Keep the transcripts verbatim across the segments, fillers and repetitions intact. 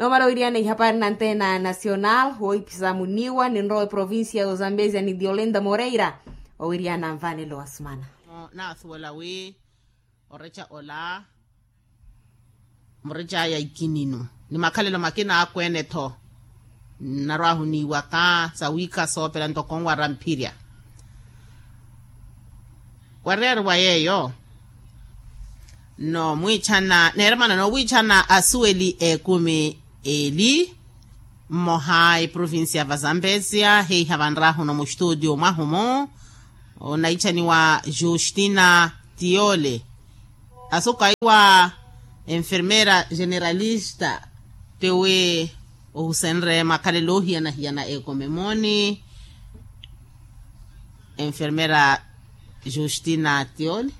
Nomala owiriyana ihapari nantena nacional wohipisa muniwa ninrowa eprovincia ya ozambezia ni diolenda moreira. Owiriyana nvanelo wasumana. Naasuwela wi oreca ola mureca aya ikininu ni makhalelo makina akweene-tho. Nnarwahuniwaka sawiikha soopela ntoko nwaramphirya. Wariyari wa yeeyo no mwiichana neeremana noowiichana asuweli eekumi eli. Mmoha eprovincia ya vazambesia heiha vanrahuno mustudio mwahumu onaichaniwa justina tiole. Asuku aiwa enfermera generalista tiwi ohusenre makhalelo ohiyana-hiyana ekomemoni. Enfermera justina tioli.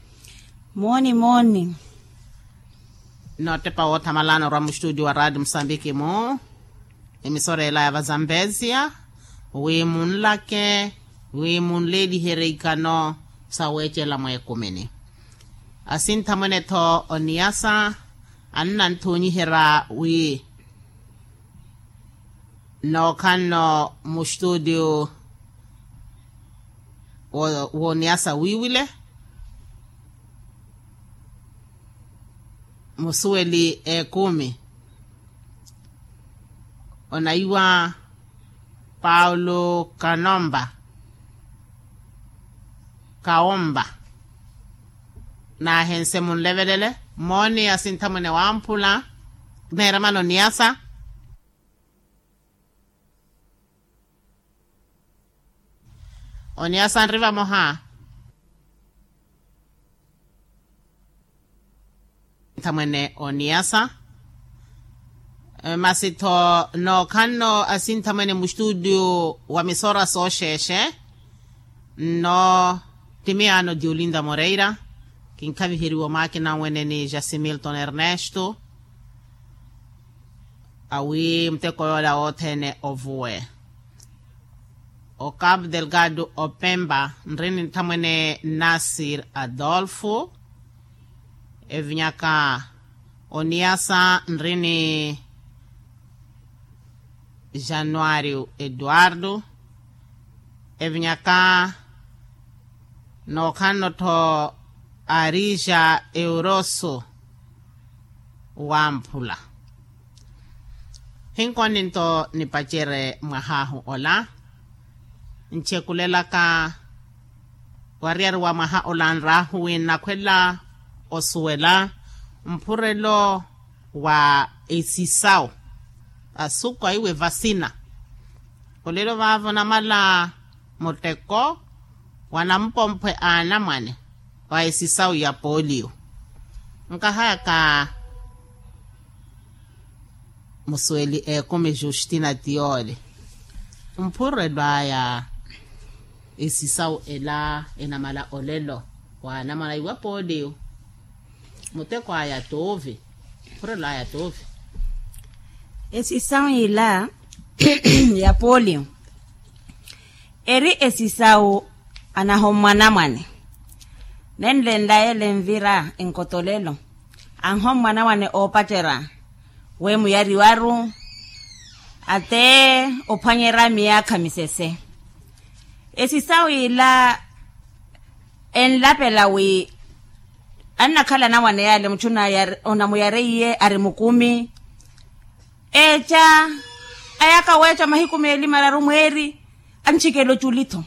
Mooni mooni. Nootepa woothamalana orwa mustudio wa radio musambiki mu emisora ela ya vazambezia wi munlake wi munleeliherye ikano saweecela mweekumini. Asinthamwene-tho oniyasa annanthuunyiherya wi nookhanno mustudio wooniyasa wiiwile musuweli eekumi onaiwa paulo kanomba kawomba. Naahense munlevelele mooni asinthamwene wamphula neeramana oniyasa. Oniyasa nri vamoha. Nthamwene oniyasa masi-tho nookhanno asinthamwene mustudio wa misora sooxeexe. Nno timiyaano diolinda moreira kinkhaviheriwa omaakina anwene ni jasimilton ernesto. Awi muteko yoola wothene ovuwe okapu delgado opemba nri ni nthamwene nasir adolfo. Evinyaka oniyasa nri ni januario eduardo. Evinyaka nookhanno-tho arija euroso wamphula. Hinkonninto nipacere mwahaahu ola nchekulelaka wariyari wa mwaha ola nraahu wi nnakhwela osuwela mphurelo wa esisawu asuku aiwe vasina. Olelo vaavo namala muteko wa nampomphwe a anamwane wa esisawu ya polio. Nkahayaka musuweli eekumi justina tiyoole mphurelo aya esisawu ela enamala olelo wa anamwane aiwa polio. Muteko aya tuuvi mphurelo aya tuuvi. Esisawu ila ya polio eri esisawu anahommwa anamwane nenlenla yeela envira enkotolelo anhommwa anamwane oopacerya wemuyariwaru ate ophwanyerya miyaakha misese. Esisawu ila enlapela wi annakhala anamwane yale muchu onamuyareiye ari mukumi eeca ayaka weeca mahiku meeli mararu mweeri anchikela oculi-tho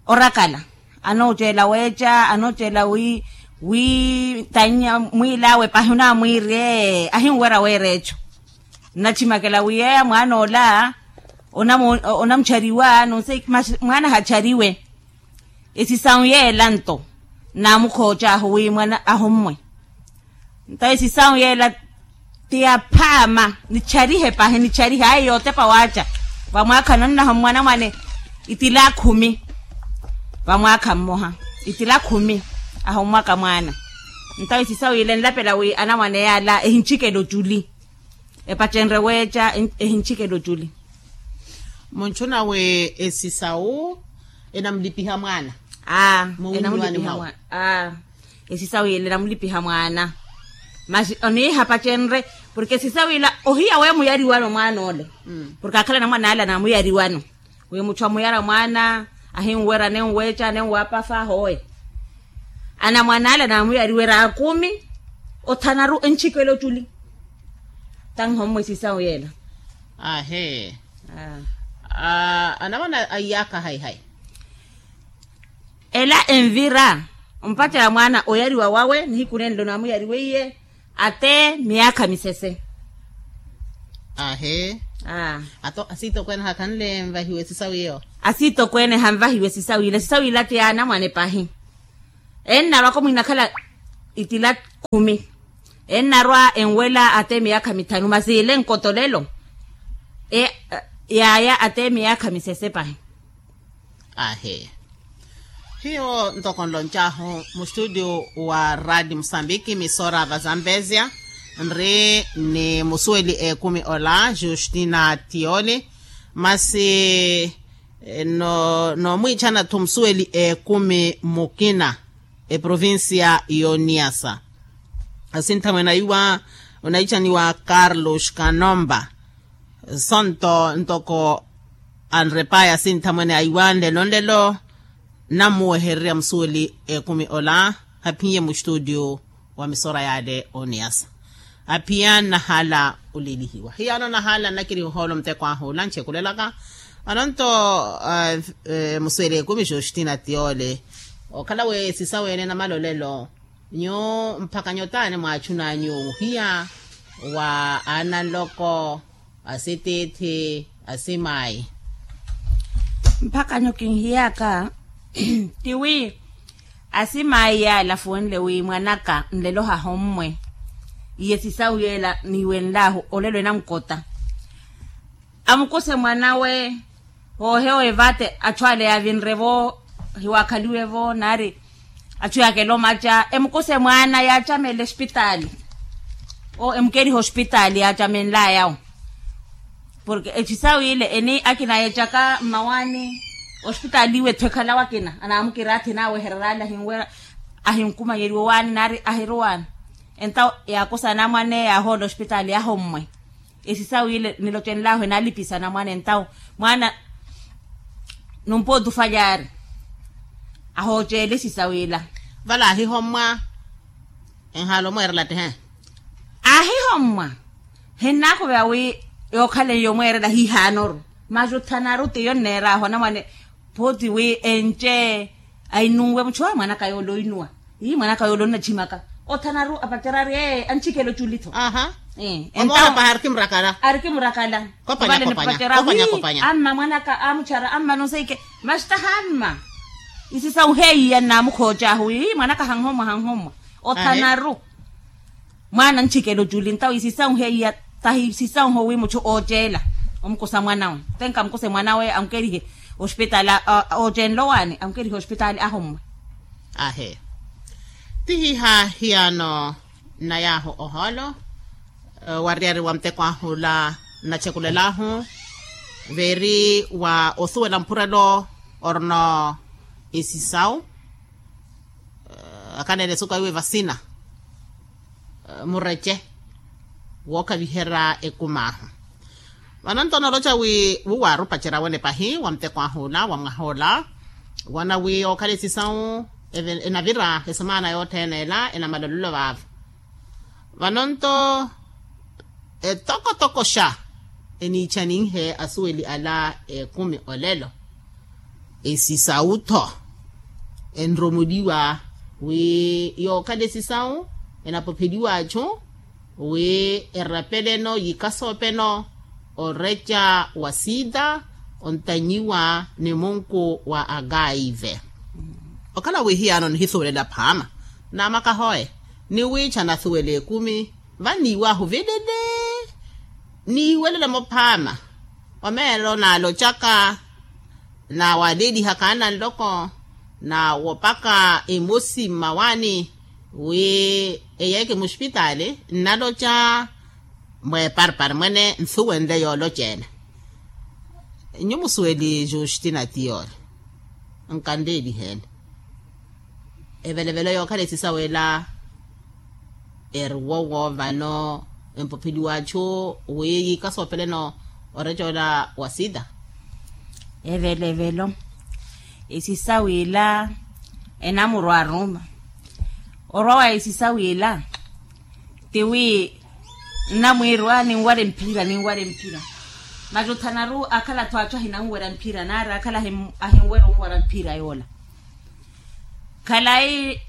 orakala anooceela weeca anooceela wi wi tannya mwiil'awe pahi onaamwiirye ahinwerya weera eco. Nnachimakela wi yeeya mwaana ola onamuchariwa nonse mwaana hachariwe. Esisawu yeela nto naamukhooca ahu wi mwaana ahommwe nto esisawu yeela ti yaphaama nicharihe pahi nicharihe ayo yootepa waaca vamwaakha nonnahommwa anamwane itila khumi vamwaakha mmoha itila khumi ahommwaka mwaana. Nto esisawu yeela enlapela wi anamwane yaala ehinchikela oculi epacenrye weeca ehinchikela oculi. Munchuna wi esisawu enamulipiha mwaana aa enamulipiha mwaana aa esisawu yela enamulipiha mwaana masi oniiha pacenrye Porke sisawiila ohiya we muyariwano mwaan'ole. Porke akhala anamwan'ale anamuyariwano, wi mutthu amuyara mwaana ahinwerya nenweeca nenwapafa ahoowe. Anamwan'ale anamuyariwerya akumi othanaru enchikela oculi. Tanhommwe sisawu yeela. Ahe. Anamwana a iyaakha hayihayi. Ela envira ompacerya mwaana oyariwa wawe nihiku nenlo namuyariweiye ate miyaakha misese. Ahe. Ato asiitokweene hakhanle nvahiwe sisawiyo. Asiitokweene hanvahiwe sisawiila sisawiila ti anamwane pahi. Ennarwaka omwiinakhala itila khumi. Ennarwa enwela ate miyaakha mithanu masi ile nkotolelo. Yaaya ate miyaakha misese pahi. Ahe. Hiyo ntoko nloncahu mustudio wa radi musambiki misora va zambezia nri ni musuweli ekumi ola justina tioli. Masi nomwiichana-tho musuweli ekumi mukina eprovincia y'oniasa. Asinthamwene aiwa onaichaniwa carlos kanomba. Sonto ntoko anrepaya sinthamwene aiwa nlelo nlelo. Nammuwehererya musuweli ekumi ola haphiye mustudio wa misora yale oniyasa. Haphiya nnahala olelihiwa hiyano nahala nnakiri ohoolo muteko ahu ola nchekulelaka. Vano nto musuweli ekumi justina tiole okhala we sisa wene namalolelo. Nyu mpakha nyu taani mwaachunanyu ohiya wa aananloko asitiithi asimaayi. Mpakha nyu kinhiyaka tiwi asimaayi yaala afuwenle wi mwanaka nlelo hahommwe iye sisawu yeela niiwenlahu olelo enankota. Amukuse mwanawe hoohewa evate achu ale yaavinre-vo hiwakhaliwe-vo naari achu yaakela omaca emukuse mwaana yaacamela ospitaali. Emukeriha ospitaali yaacamenlayawo porke ecisawu ile eni akina yeecaka mmawaani. Ospitaali iwe etthu ekhalawe akina anaamukira athi naawehererya ale ahinwe ahinkumanyeriwa owaani naari ahirowaani. Entawo yaakusa anamwane yaahoola ospitaali ahommwe. Esisawu ile nilocenlahu enalipisa anamwane entawo mwaana numpooti ofalyaari ahooceela esisawu ila. Vale aahihommwa enhaala omweerela tti he. Aahihommwa hinnakhuveya wi yookhaleiye omweerela hiihaanoru. Masi othanaru tiyo nneeraahu anamwane pooti wi enci. Ainunwe muchu ayi mwanaka yoole oinuwa. Ii mwanaka yoole onnachimaka othanaru apacerya ari ee anchikela oculi-tho. Ee entawo paha arikimurakala. Arikimurakala. Kopanya kopanya. Kopanya kopanya. Amma mwanaka amuchara amma nonseike. Masi taha amma isisawu heiya nnamukhoocahu ii mwanaka hanhommwa hanhommwa othanaru. Mwaana anchikela oculi ntawo isisawu heiya tahi isisawu howi muchu ooceela omukusa mwanawe. Tenka amukuse mwanawe amukerihe ospitaali. Oocenla owaani amukerihe ospitaali ahommwe. Ahe. Tihiha hiyano nnayahu ohoolo wariyari wa muteko ahu ola nnachekulel'ahu veeri wa osuwela mpurelo orino isisawu. Akhanene esuku aiwe vasina murece wookhaviherya ekum'ahu. Vano nto onooloca wi wuwaarupacerya wene pahi wa muteko ahu ola wa mwaha ola woona wi ookhala esisawu enavira esemaana yothene ela enamalolelo vaavo. Vano nto etokotokoxa eniichaninhe asuweli ala ekumi olelo. Esisawu-tho enromuliwa wi yookhala esisawu enapopheliwa achu wi erapeleno yikasoopeno oreca wa siita ontanyiwa ni munku wa akaive. Okhala wi hiyano nihisuwelela phaama naamaka hooye ni wiicha nasuwela ekumi vaniiwahu vilele. Niiwelele-mo phaama omeelo naalocaka naawalelihaka ananloko naawopaka emosi mmawaani wi eyeeke muspitaali nnaloca mweeparpari mwene nsuwenle yooloceela. Nyu musuweli justina tiyoole nkanleeliheene evelevelo yookhala esisawu ela eri wowo vano empopheliwa achu wi yiika soopeleno oreca ola wa sida. Evelo evelo. Esisa wila enamurwa aruma orwa wa esisa wila tiwi nnamwirwa ninwale mphira ninwale mphira. Masi othanaru akhala-tho achu ahinanwera mphira nari akhala ahinwera onwara mphira yoola. Khalayi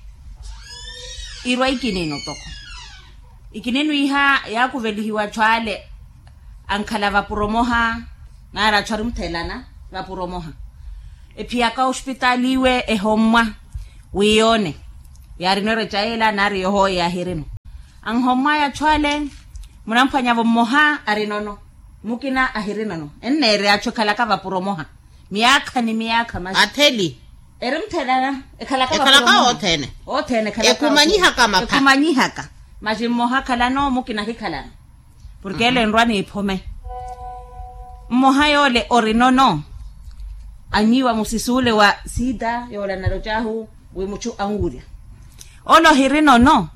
irwa ikininu toko ikininu iha yaakuvelihiwa achu ale ankhala vapuro omoha nari achu ari muthelana vapuro omoha. Ephiyaka ospitaali iwe ehommwa wi yoone yaarino ereca yeela nari yohooye yaahirino. Anhommwaya achu ale munamphwanyavo mmoha arinono mukina ahirinono enneere achu ekhalaka vapuro omoha miyaakha ni miyaakha masi atheli eri muthelana ekhalaka vapuro omoha othene othene ekhalaka ekhumanyihaka mapha ekhumanyihaka masi mmoha akhalano mukina ahikhalano porke ele enrwa niiphome. Mmoha yoole orinono anyiiwa musisi ule wa sida yoola nalocahu wi muchu anwurya ole ohirinono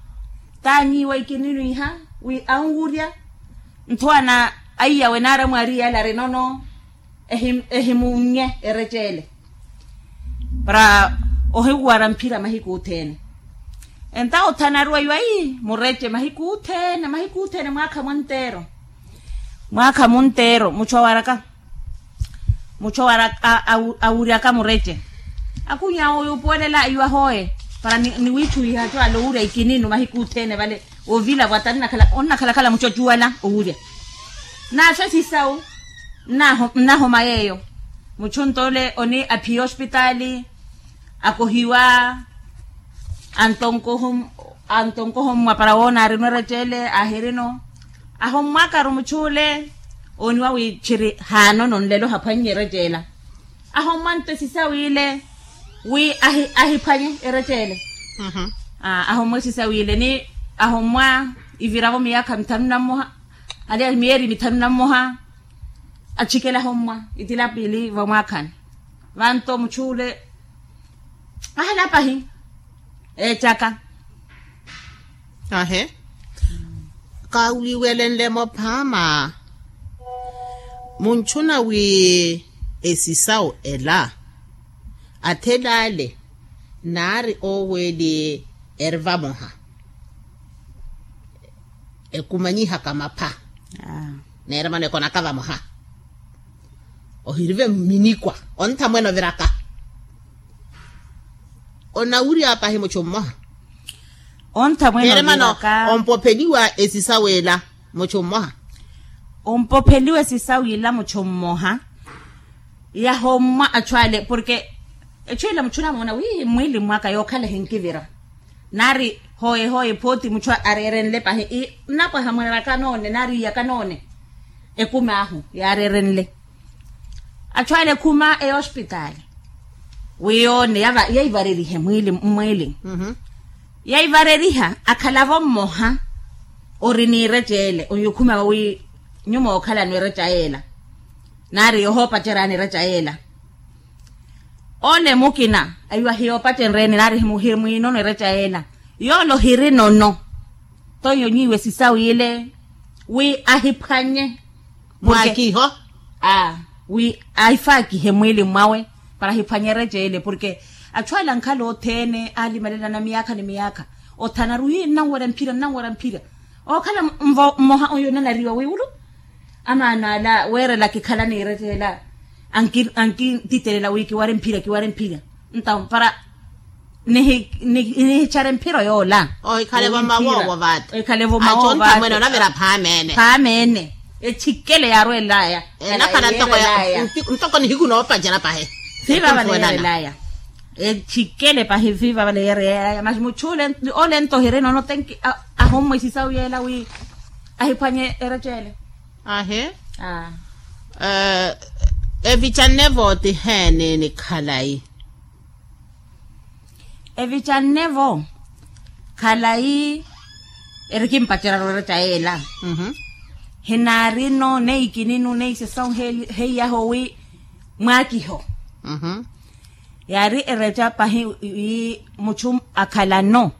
taanyiiwa ikininu iha wi anwurya nthuwana aiyawe nari amwariya ale arinono ehimunnye erecele para ohiwara mphira mahiku othene. Enta othanaruwa iwa ii murece mahiku othene mahiku othene mwaakha munteero mwaakha munteero muchu awaraka muchu awaraka awuryaka murece. Akhunya oyo opuwelela iwa hooye para niwiitthuwiha achu ale owurya ikininu mahiku othene vale ovilavo ata onnakhalakhala muchu achuwala owurya. Naaswe sisawu nnahoma yeeyo muchu nto ole oni aphiya ospitaali akohiwa antonkoho mmwa para woona arino ereca ele ahirino ahommwakaru muchu ole ooniwa wi tthiri haanono nlelo haphwannye ereca ela. Ahommwa nto esisa w'ile wi ahiphwanye ereca ele. Ahommwa esisa w'ile ni ahommwa iviravo miyaakha mithanu na mmoha aliya miyeeri mithanu na mmoha. Achikela ahommwa itila piili vamwaakhani vanto muchu ule ahala pahi eecaka. Ahe kawuliwelenle-mo phaama munchuna wi esisawu ela athela ale naari oweeli eri vamoha ekumanyihaka mapha neeremano ekonaka vamoha ohirive mminikwa ontha mwene oviraka onawurya pahi muchu mmoha ontha mwene oviraka ompopheliwa esisa w'ela muchu mmoha ompopheliwa esisa w'ela muchu mmoha yahommwa achu ale porke echu ela muchu onamoona wi mmwili mwaka yookhala ehinkivira nari hooye hooye phooti muchu areerenle pahi nnapwaha mwaraka noone nari iyaka noone ekumi ahu yaareerenle achu ale ekhuma eya ospitaali wi yoone yaivarerihe mmwili mmwili yaivareriha akhalavo mmoha ori n'ireca ele oyo okhumavo wi nyuma ookhalano ereca yeela nari yohoopacerani ereca yeela ole mukina aiwa hiyoopacenreni nari himwinono ereca yeela yoole ohirinono toiyo nyiiwe sisawu ile wi ahiphwanye mwakiho wi ahifaakihe mwili mwawe para ahiphwanye ereca ile porke achu ale ankhala othene aalimalelana miyaakha ni miyaakha othanaru wi nnanwerya mphira nnanwerya mphira ookhala mmoha oyo onanariwa wiwulu amaano ala weerela kikhala niirettela ankintitelela wi kiware mphira kiware mphira ntawo para nihichare mphiro yoola ohikhale vomawowo vaati ohikhale vomawowo vaati ontamwene onavira phaamene phaamene echikele yaarwelaya enakhala ntoko ya ntoko nihiku noopacela pahe fiivava neerelaya echikele pahi fiivava neerelaya masi muchu ole ole nto ohirina ono tenki ahommwesisa wiyela wi ahiphwanye erettele ahe evicanne vooti heeni ni khalayi evicanne vo khalayi erikimpacerya roretta yeela hinaarino neikininu neisesawu heiyaho wi mwaakiho yaari eretta pahi wi muchu akhalano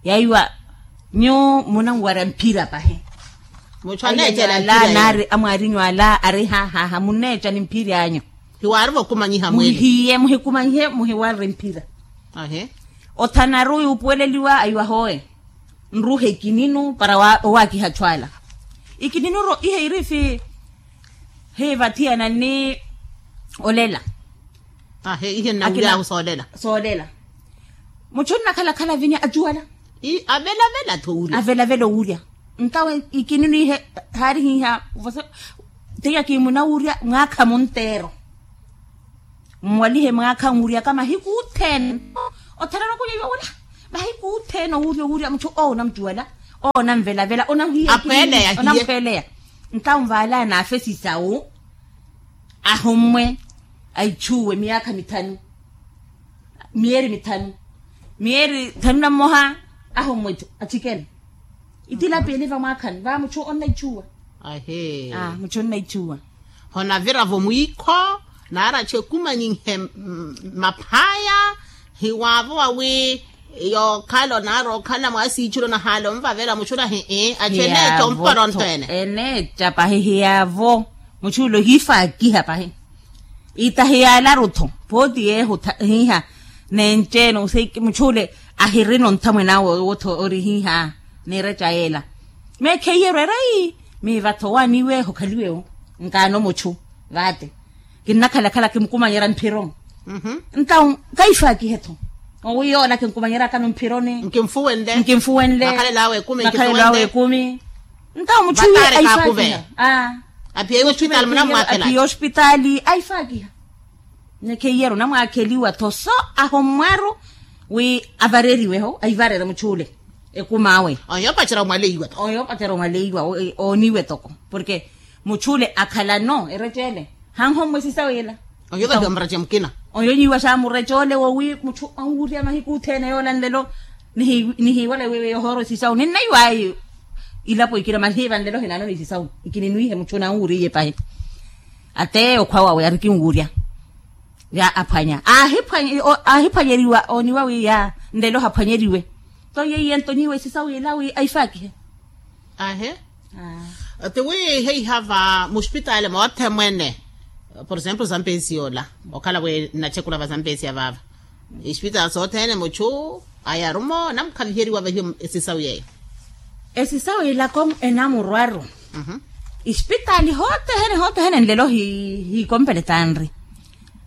yaiwa nyuwo munanwarya mphira pahi Mutthu aneettela mphira. Naari amwaarinyu ala ari hahaha munneetta ni mphira anyu. Hiwaari vokumanyiha mwene muhiye muhikumanyihe muhiwarre mphira. Othanaru yuupuweleliwa ayiwa hooye nruhe ikininu para owaakiha atthu ala. Ikininu ro ihe irifi hiivathiyana ni olela. Ahe ihe nnawuryaahu soolela. Soolela. Mutthu nnakhalakhala avinya acuwala. Avelavela tho wurya avelavela owurya. Ntawe ikininu ihe haarihiha. Tiya kimunawurya mwaakha munteero. Mmwalihe mwaakha nwuryaka mahiku othene. Otharana okunyeiwa wala mahiku othene owurya owurya mutthu owo onamcuwala owo onamvelavela onamhiya. Onamkhweleya. Ntawe nvaala naafe sisawu ahommwe ayichuwe miyaakha mithanu. Miyeeri mithanu miyeeri thanu na mmoha ahommwe. Achikele itilapiyeli vamwaakhani va mutthu onnayichuwa. Ahe. Mutthu onnayichuwa. Honavira-vo mwiikho naari atthu ekumanyinhe maphaya hiwaavowa wi yookhala onaari okhala mwaasiichula onahaala onvavela mutthu ola hii atthu eneetta ompora ontweene. Eneetta pahi hiyaavo. Mutthu ula ohiifaakiha pahi itahi yaalaru-tho pooti yeehu hiiha. Nenceene mutthu ule ahirina onthamwene awe owo-tho ori hiiha. Niireca yeela meekheiyerwe rai miiva-tho owaaniiweeho okhaliwewo nkaano mutthu vaate. Kinnakhalakhala kimukumanyerya mphiro. Ntawu kaifaakihe-tho owi yoola kinkumanyeryakano mphironi. Nkinfuwenle makhalelo awe ekumi. Ntawo mutthu iye aifaakiha. Aphiye ospitaali aifaakiha. Nekheiyeru onamwaakheliwa-tho so ahommwaru wi avareriwe-ho aivarere mutthu ule. Ekumi awe oyo opacerya omwaleiwa-tho oyo opacerya omwaleiwa. Ooniwe toko porke mutthu ule akhalano erettele hanhommwe sisawu ila. Oyo vahiwa murettya mukina oyo nyiwa xaamurettya ole wowi mutthu anwurya mahiku othene yoola nlelo. Nihiiwala wiiwe yohooro sisawu ninnaiwayi. Ilapo ikina mahiiva nlelo hinaano ni sisawu ikininwihe mutthu nanwuriye pahi. Ate okhwa wawe arikinwurya ya aphwanya. Aahiphwanyeriwa ooniwa wi ya nlelo haphwanyeriwe. Nto yeiye nto nyiwe sisawu ila wi aifaakihe. Ahe. Ti wi heiha va muspitaali moothe mwene. Por exemplo zampesi yoola okhala wi nnacekula va zampesi ya vaava. Ispitaali sothene muchu ayarumo namukhaviheriwa vahiyo. Esisawu yeyo esisawu ilako enamurwaru. Ispitaali hothene hothene nlelo hiikompele tanri.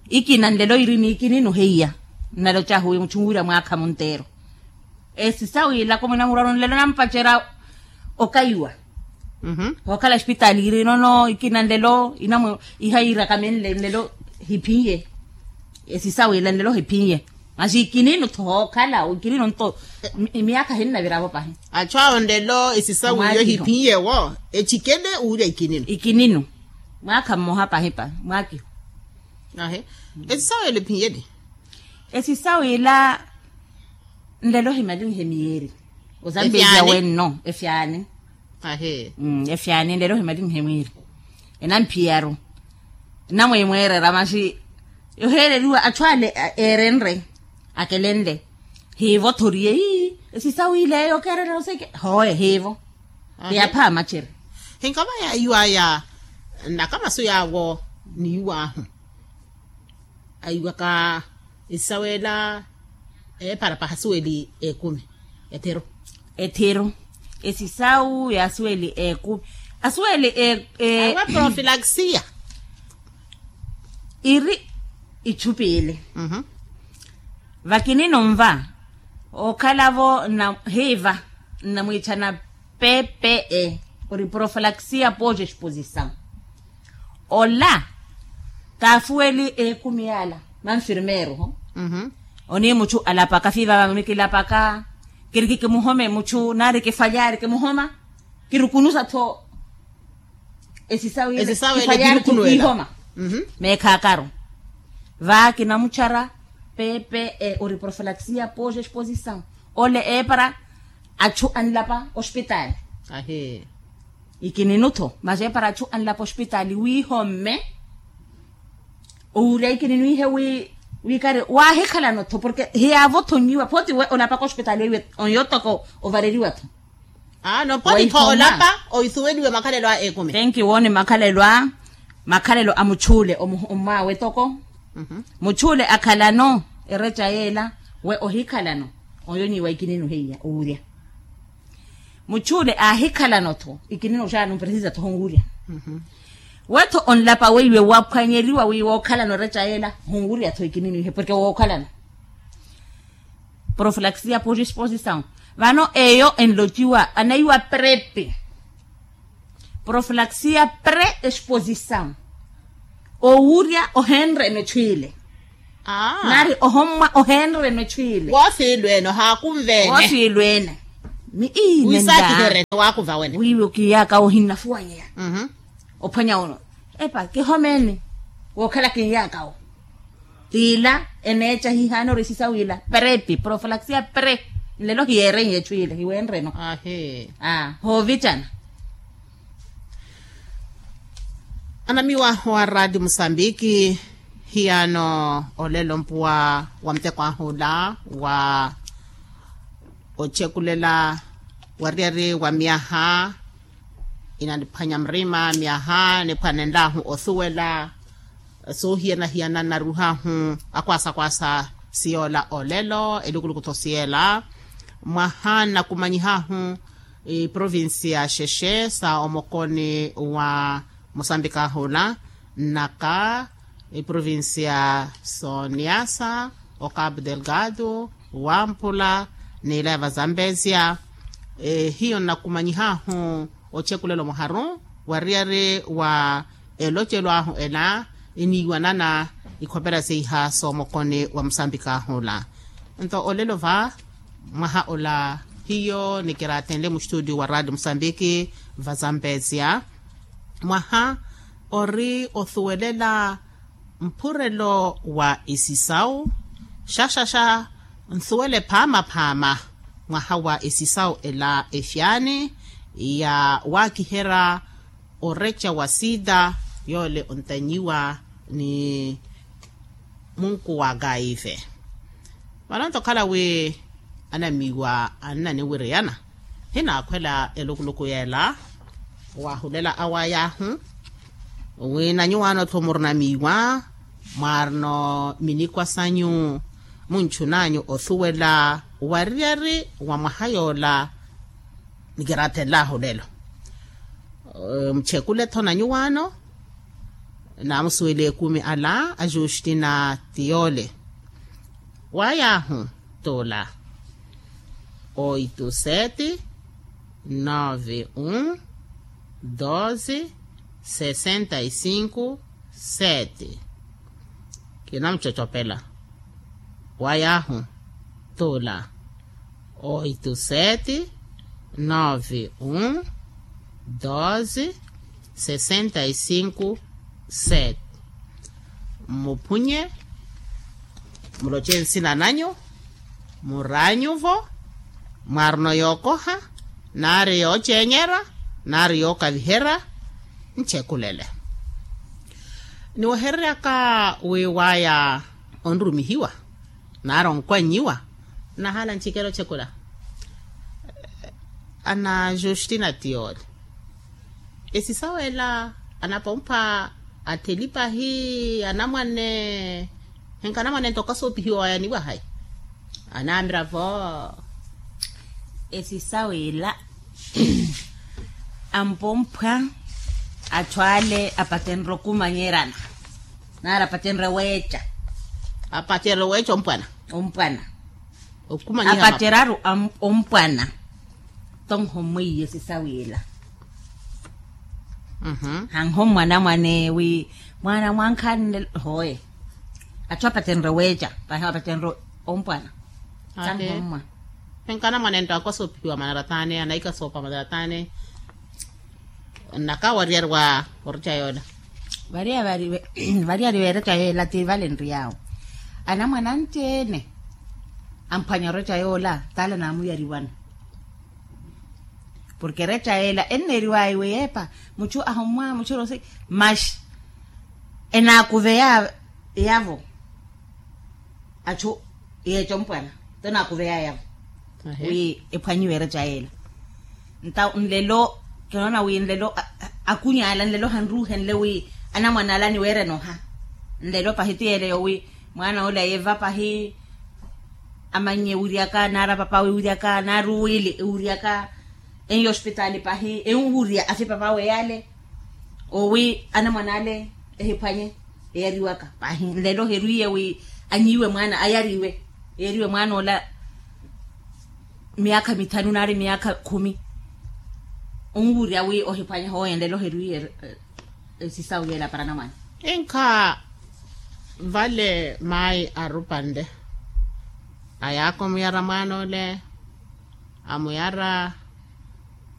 Ikina nlelo iri niikininu heiya nnalocahu wi muchu nwira mwaakha munteero. Esisawu ilako mwinamurwaru nlelo nampacerya okaiwa. Hookhala espitaali iri nono ikina nlelo inamwe ihayiiraka menle nlelo hiphinye. Esisawu ila nlelo hiphinye. Masi ikininu tho hookhala ikininu nto. Miyaakha hinnavira-vo pahi. Achu awo nlelo esisawu iyo hiphinye-wo echikele owurya ikininu. Ikininu mwaakha mmoha pahi pahi mwaakiho. Esisawu ila ephinyeli. Esisawu ila nlelo himalinhe miyeeri. Ozambeziya wenno efyaani. Efyaani nlelo himalinhe mwiiri enampiyaru. Namwimweerera masi yoheereriwa achu ale eerenre akelenle. Hiivo thoriye ii esisawu ile eyo okeererya oseke hooye hiivo. Hiyapha amachere. Hinkava yaiwaya nnaka masu yaawo niyuwaahu. Aiwaka esisawu ela eepara paha asuweli ekumi. Ethiru. Ethiru. Esisawu ya asuweli ekumi asuweli. Awa profilaxia. Iri ichu piili. Vakinino nva okhala-vo hiiva nnamwiichana. Pepe e ori profalaxia poja exposição. Ola kaafuweli ekumi yaala manfirmeeru ho. Onii muchu alapaka fiiva vamami kilapaka. Kiri kikimuhome muchu nari kifwalyaari kimuhoma. Kirukunusa-tho esisawu ile kifwalyaari kikiihoma. Meekhaakaru va kinamuchara. Pepe e ori profalaxia poja exposição. Ole eepara achu anlapa ospitaali. Ikininu-tho masi eepara achu anlapa ospitaali wiihomme. Owurya ikininu ihe wi wiikari waahikhalano-tho porke hiyaavo-tho onyiwa phooti we olapaka ospitaali weiwe onyo toko ovareriwa-tho. Aa nomphoni tho olapa. Oithuweliwe makhalelo a ekumi. Thank you wooni makhalelo a makhalelo a muchuule. Omwaawe toko muchuule akhalano ereca yeela we ohikhalano. Oyo nyi wa ikininu heiya owurya muchuule aahikhalano tho ikininu xaano mpresiza tho honwurya. Wetho onlapa weiwe waphwanyeliwa wi wookhalano ereca yeela honwurya tho ikininu ihe porke wookhalano. Proflaxia por exposição. Vano eyo enlotiwa anaiwa prepe. Proflaxia pre exposição. Owurya ohenreno echwiile. Nari ohommwa ohenreno echwiile. Woosiilweene ohaakunveene. Woosiilweene. Miiinewisakiherene waakuva wene wiiwe okiyaka ohinnafuwanyeya. Ophwanya ono epa kihomeeni. Wookhala kinyaaka wo. Tiila eneeca hihaana orisisawiila. Prepi proflaxia pre nlelo hiyeerenye echwiile hiwenreno. Aa hoovicana. Anamiwa wa raati musambiki. Hiyaano olelo mpuwa wa muteko ahula wa ochekulela wariyari wa myaha inaniphwanya murima myaha niphwanenlahu osuwela. Soohiyana-hiyana nnaruhahu akwaasa-kwaasa siyoola olelo elukulukutho siyela mwaha nnakumanyihahu iprovincia xexe sa omokoni wa musambika ahula nnaka iprovincia sooniasa okapu delgado wampula n'ilaya va zambezia. Hiyo nnakumanyihahu ochekulelo muharu wariyari wa elocelo ahu ela iniiwanana ikhopera seiha soomokoni wa musambika ahula. Nto olelo va mwaha ola hiyo nikiratenle mustudio wa radio musambiki va zambezia. Mwaha ori osuwelela mpurelo wa esisau xaxaxa nsuwele phaama-phaama mwaha wa esisau ela efyaani ya waakiherya oreca wa sida yoole ontanyiwa ni munku wa gaive. Vano nto okhala wi anamiiwa annaniwiriyana hinaakhwela elukuluku yeela waahulela awayahu wi na nyuwaano-tho murina miiwa mwaarino minikwa sanyu munchunanyu osuwela wariyari wa mwaha yoola. Nikiraathenlahu lelo muchekule-tho na nyuwaano naamusuwela ekumi ala a justina tiyole. Wayaahu tula oito sete nove um doze sessenta e cinco sete. Kinamucocopela wayaahu tula oito sete nove um doze sessenta e cinco sete. Mmuphunye muloce nsina nanyu muraanyuvo mwaarino yookoha nari yoocenyerya nari yookaviherya. Nchekulele niwehereryaka wi waya onrumihiwa nari onkwanyiwa. Nnahaala nchikela ochekula ana justina tiyoli esisaweela anapompha athelipahi anamwane henka anamwane nto okasopihiwa waya niwahayi. Anamira vo esisaweela ampomphwa athwale apatenre okumanyerana nari apatenre weeca. Apatenre weeca ompwana ompwana okumanyerana apateraru ompwana. Tonhommweiye sisawiila hanhommwa namwane wi mwana mwankhanle hoye. Atthu apatenre weeca pahi apatenre ompwana sanhommwa. Enkana mwanento akwa soophiwa manarataane anaika soopa manarataane. Nnaka wariyari wa oreca yoola. Variyari weereca yoola ti vale nriyaawo anamwana anci-ene amphwanya oreca yoola taala naamuyariwana. Porke ereca yeela enneeriwaya iwe yeepa muchu ahommwa muchu rosi maxi enaakuveya yavo. Achu yeeca ompwana tonaakuveyayavo wi ephwanyiwe ereca yeela. Nta nlelo kinoona wi nlelo akuny'ala nlelo hanruuhenle wi anamwan'ala aniweerene oha. Nlelo pahi ti yeeleyo wi mwaana ole yeeva pahi amannye wiryaka naari apapawe wiryaka naari uwiili wiryaka enyo ospitaali pahi enwurya afi papawe yaale owi anamwan'ale ehiphwanye eyariwaka pahi nlelo herwiiye wi anyiiwe mwaana ayariwe eyariwe mwaana ola miyaakha mithanu naari miyaakha khumi onwurya wi ohiphwanye hooye nlelo herwiiye esisawu yeela para anamwaana. Inkha vale maayi arupanle ayaaka omuyara mwaana ole amuyara